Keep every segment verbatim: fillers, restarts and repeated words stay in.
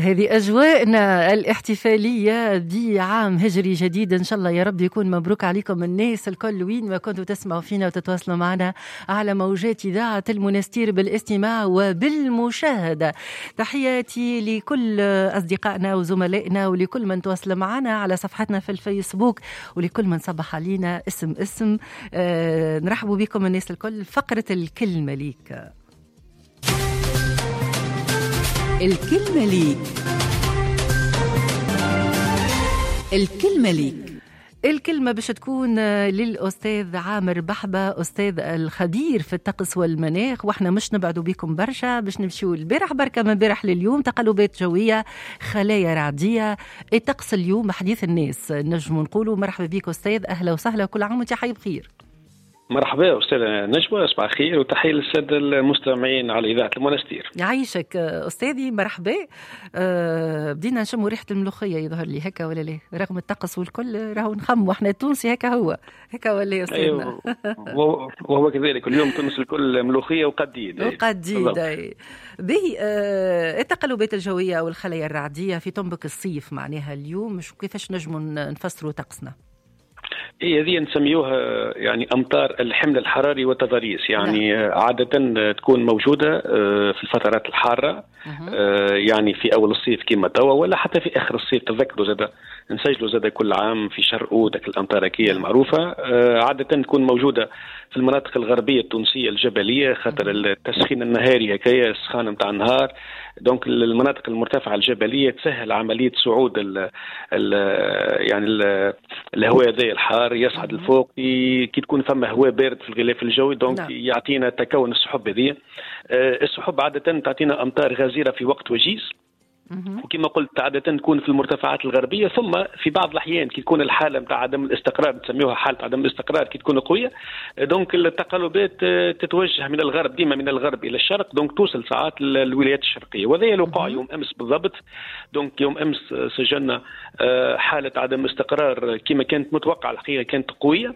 هذه أجواءنا الاحتفالية بعام هجري جديد، إن شاء الله يا رب يكون مبروك عليكم الناس الكل وين ما كنتوا تسمعوا فينا وتتواصلوا معنا على موجات إذاعة المنستير بالاستماع وبالمشاهدة. تحياتي لكل أصدقائنا وزملائنا ولكل من تواصل معنا على صفحتنا في الفيسبوك ولكل من صبح علينا اسم اسم. آه نرحب بكم الناس الكل. فقرة الكلمة ليك. الكلمة ليك، الكلمة ليك. الكلمة باش تكون للأستاذ عامر بحبة، أستاذ الخبير في الطقس والمناخ، وإحنا مش نبعدوا بكم برشا باش نمشيو البارح بركة من بارح لليوم. تقلبات جوية، خلايا رعدية، الطقس اليوم حديث الناس نجم نقولوا. مرحبا بك أستاذ، أهلا وسهلا، كل عام وأنت حي بخير. مرحبا أستاذة نجوى، صباح الخير وتحية للسادة المستمعين على إذاعة المنستير. يعيشك أستاذي، مرحبا. أه بدينا نشموا ريحة الملوخية يظهر لي هكا ولا لا؟ رغم الطقس والكل راهو نخم واحنا التونسي هكا هو هكا ولا يا أستاذنا؟ أيوه، وهو كذلك اليوم تونس الكل ملوخية وقديد. وقديد به. أه التقلبات الجوية والخلايا الرعدية في طنبك الصيف معناها اليوم، كيفاش نجموا نفسروا طقسنا؟ إيه، هذه نسميوها يعني أمطار الحمل الحراري والتضاريس، يعني نعم. عادة تكون موجودة في الفترات الحارة، يعني في أول الصيف كما توا ولا حتى في آخر الصيف. تذكروا زاد نسجلوا زاد كل عام في شهر أوت الأمطاركية المعروفة، عادة تكون موجودة في المناطق الغربية التونسية الجبلية خاطر التسخين النهاري هكايا السخان نتاع النهار، donc المناطق المرتفعة الجبلية تسهل عملية صعود ال ال يعني ال الهواء هذا الحار يصعد لفوق، كي تكون فما هواء بارد في الغلاف الجوي donc نعم. يعطينا تكون السحب هذه. السحب عادة تعطينا أمطار غزيرة في وقت وجيز، وكما قلت عادة تكون في المرتفعات الغربية، ثم في بعض الأحيان كي تكون الحالة متاع عدم الاستقرار نسميوها حالة عدم الاستقرار كي تكون قوية، donc التقلبات تتوجه من الغرب ديما من الغرب إلى الشرق، donc توصل ساعات للولايات الشرقية، وهذا الوقع يوم أمس بالضبط. donc يوم أمس سجلنا حالة عدم استقرار كما كانت متوقعة، الحقيقة كانت قوية،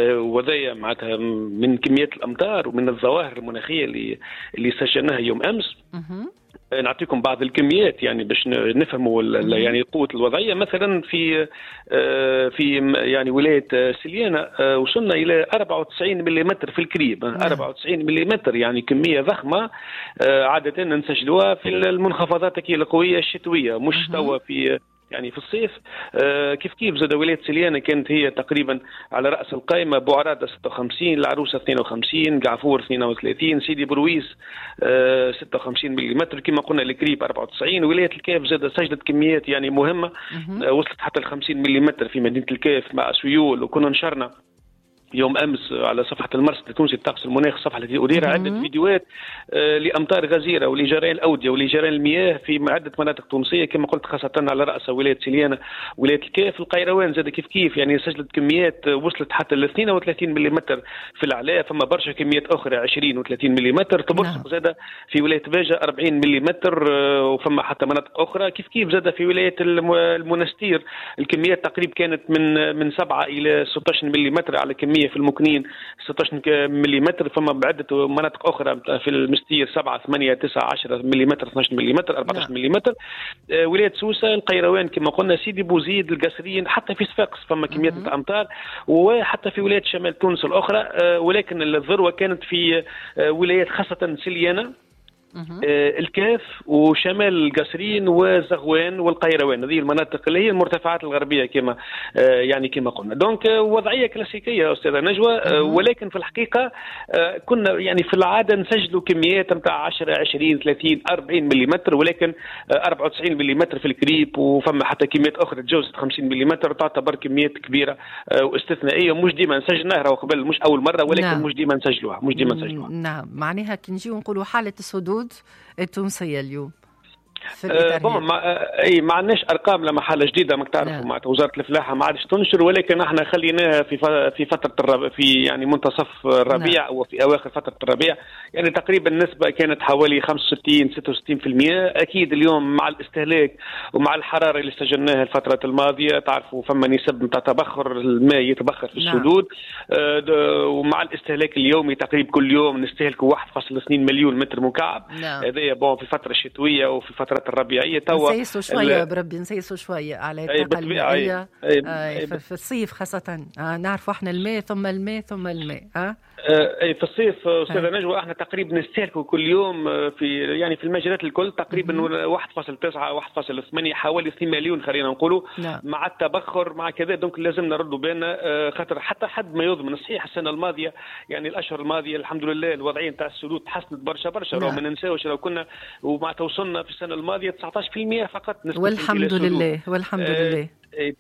وهذا معناتها من كميات الأمطار ومن الظواهر المناخية اللي اللي سجلناها يوم أمس. نعطيكم بعض الكميات يعني باش نفهموا يعني قوة الوضعية. مثلا في في يعني ولاية سليانة وصلنا إلى أربعة وتسعين ملم في الكريب، أربعة وتسعين ملم يعني كمية ضخمة عادة نسجلوها في المنخفضات القوية الشتوية، مش توا في يعني في الصيف. آه كيف كيف زاد ولاية سليانة كانت هي تقريبا على رأس القائمة، بوعرادة ستة وخمسين، العروسة اثنين وخمسين، قعفور اثنين وثلاثين، سيدي برويس آه ستة وخمسين ملم، كما قلنا الكريب أربعة وتسعين. ولاية الكاف زاد سجلت كميات يعني مهمة، آه وصلت حتى ال خمسين ملم في مدينة الكاف مع سيول، وكنا نشرنا يوم أمس على صفحة المرصد التونسي الطقس المناخ، الصفحة التي أديرها، عدة فيديوهات لأمطار غزيرة ولجريان الأودية ولجريان المياه في عدة مناطق تونسية كما قلت، خاصة على رأس ولاية سليانة ولاية الكاف. القيروان زاد كيف كيف يعني سجلت كميات وصلت حتى ل اثنين وثلاثين ملم في العلاء، فما برشا كميات أخرى عشرين وثلاثين ملم. تبرسق زاد في ولاية باجة أربعين ملم، وفما حتى مناطق أخرى كيف كيف. زاد في ولاية المنستير الكميات تقريبا كانت من من سبعة إلى ستة عشر ملم على كمية في المكنين ستة عشر ملم، فما بعدة مناطق أخرى في المستير سبعة ثمانية تسعة عشرة ملم، اثنا عشر ملم، أربعة عشر ملم. ولاية سوسة، القيروان كما قلنا، سيدي بوزيد، القصرين، حتى في صفاقس فما كميات أمطار، وحتى في ولاية شمال تونس الأخرى، ولكن الذروة كانت في ولايات خاصة سليانة، الكاف وشمال القصرين وزغوان والقيروان، هذه المناطق اللي هي المرتفعات الغربية كما يعني كما قلنا. donc وضعية كلاسيكية أستاذة نجوى، ولكن في الحقيقة كنا يعني في العادة نسجلوا كميات نتاع عشرة عشرين ثلاثين أربعين ملم، ولكن أربعة وتسعين ملم في الكريب، وفما حتى كميات أخرى تجاوزت خمسين ملم، تعتبر كميات كبيرة واستثنائية، مش ديما نسجلناها قبل، مش أول مرة، ولكن نعم. مش ديما نسجلوها، مش ديما نسجلوها. نعم، معناها كي نجيو نقولوا حالة السدود التونسية اليوم أه bon ما اي ما عندناش ارقام لما حاله جديدة ما تعرفوا معناتها وزارة الفلاحة ما عادش تنشر، ولكن احنا خليناها في في فترة الرب في يعني منتصف الربيع او في اواخر فترة الربيع، يعني تقريبا النسبة كانت حوالي خمسة وستين ستة وستين بالمئة. اكيد اليوم مع الاستهلاك ومع الحرارة اللي سجلناها الفترة الماضية تعرفوا فما نسب نتاع تبخر الماء يتبخر في السدود، آه ومع الاستهلاك اليومي تقريبا كل يوم نستهلكوا واحد فاصل اثنين مليون متر مكعب. هذايا bon في الفترة الشتوية وفي فترة الفترات الربيعيه. توا نسيسوا شوية بربي، نسيسوا شوية على الطاقة المائية في الصيف خاصة. آه نعرفوا احنا الماء ثم الماء ثم الماء. آه اي في الصيف استاذه نجوى احنا تقريبا نستهلكوا كل يوم في يعني في المجالات الكل تقريبا واحد فاصل تسعة واحد فاصل ثمانية حوالي اثنين مليون خلينا نقولوا. نعم. مع التبخر مع كذا، donc لازم نردوا بالنا خاطر حتى حد ما يضمن. صحيح السنة الماضية يعني الاشهر الماضية الحمد لله الوضعية نتاع السدود تحسنت برشا برشا. نعم. ما ننساوش لو كنا ومع توصلنا في السنة الماضية تسعطاش بالمية فقط نسبه، والحمد لله والحمد آه لله.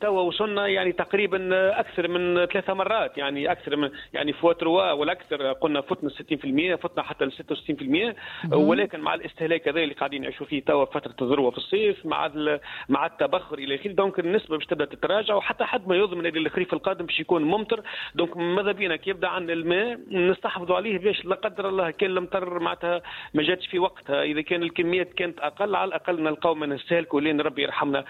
توا وصلنا يعني تقريبا اكثر من ثلاثة مرات، يعني اكثر من يعني fois trois ولا اكثر، قلنا فتنا ستين بالمية، فتنا حتى ل ستة وستين بالمية. ولكن مع الاستهلاك هذا اللي قاعدين نعيشوا فيه توا فترة الذروة في الصيف مع مع التبخر الى اخره، donc النسبة باش تبدا تتراجع، وحتى حد ما يضمن اللي الخريف القادم باش يكون ممطر. donc ماذا بينا كي يبدا عندنا الماء نستحفظوا عليه باش لا قدر الله كان المطر معناتها ما جاتش في وقتها، اذا كان الكميات كانت اقل على الاقل نلقاو ما نستهلكوا لين ربي يرحمنا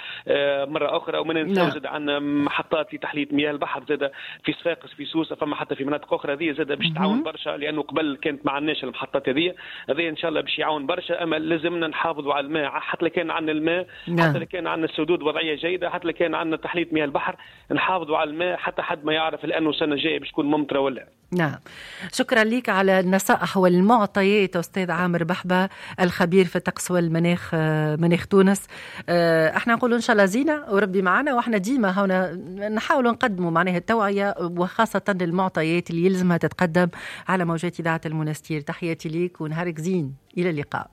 مرة اخرى. وما ننساو زاد عندنا محطات لتحليه مياه البحر زاد في صفاقس في سوسة، فما حتى في مناطق اخرى، هذه زاد باش تعاون برشا لانه قبل كانت ما عندناش المحطات هذه، هذه ان شاء الله باش يعاون برشا. اما لازمنا نحافظوا على الماء، حتى لو كان عندنا الماء، حتى لو كان عندنا السدود وضعية جيدة، حتى لو كان عندنا تحلية مياه البحر، نحافظوا على الماء حتى حد ما يعرف لانه السنة الجاية باش تكون ممطره ولا. نعم، شكرا لك على النصائح والمعطيات أستاذ عامر بحبة الخبير في الطقس والمناخ مناخ تونس. احنا نقولوا إن شاء الله زينة وربي معنا، واحنا ديما هنا نحاولوا نقدموا معناها التوعية وخاصة المعطيات اللي يلزمها تتقدم على موجات إذاعة المنستير. تحياتي ليك ونهارك زين، إلى اللقاء.